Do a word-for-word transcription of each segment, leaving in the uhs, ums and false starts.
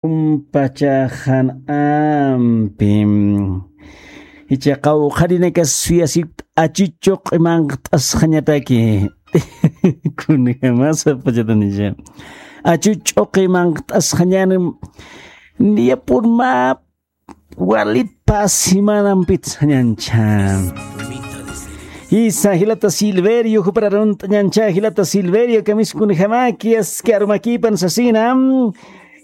Umpachaxan ampi. Icha qawqharinakas suyasipt'a achuchuq imanqt'asxañataki. Kunjamasa pachatanicha. Achuchuq imanqt'asxañan. Niyapur mä walit pä semanampitxañancha. Jisa jilata Silverio, jupar arunt'añancha jilata Silverio, kamiskunjamaki aski arumakipan sasina.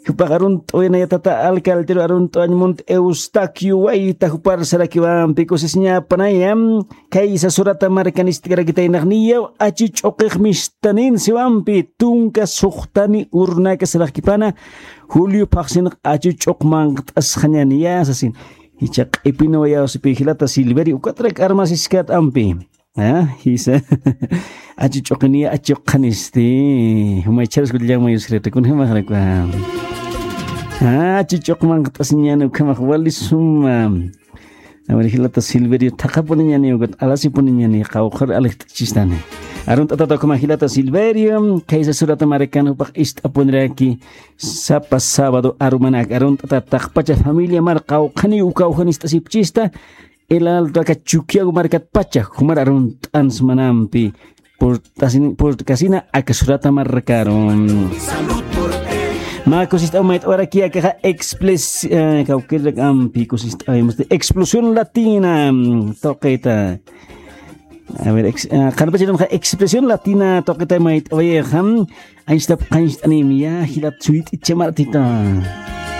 Jupax arunt'uwinaya tata alcalderu arunt'uwañ munt Eustaquio Wayta jupar sarakiwampi kusisiñapanaya. Kaysa surata markanistkarakitaynaxniyaw achuch'uqix mistanin siwampi tunka suxtani urnaka saraxkipana. Julio phaxsinx achuch'uq manqt'asxañaniya sasin. Icha q'ipinawayawsipi jilata Silverio ukatrak armasiskat ampi. Ah, jisa. Achuch'uqiniya achuqanisti. Jumaycharas kullamayusirata kunjamaxrakwa. Ah, achuch'uq manqt'asiñani ukhamax wali suma. Aver jilata Silverio thaqapuniñani ukat alasipuniñani qawqhar alijt'achistani. Arunt'atata ukhama jilata Silverio kaysa surata markan jupax ist'apuniraki. Sapa sábado arumanak arunt'ata taqpacha familia mar qawqhani ukawjanist'asipchista. Elaltaka chukiyaw markatpacha jumar arunt'ansmanampi. Purt'asin purt'kasina aka surata markaru. Mä kusist'aw mayt'awaraki akaxa expres kawkirrak ampi kusist'awimusti explosión latina. Toqeta. A ver, qanpachirunxa expresión latina toqeta mayt'awayixa. Anchitap qancht'anim ya jilat suyt'ichamartita.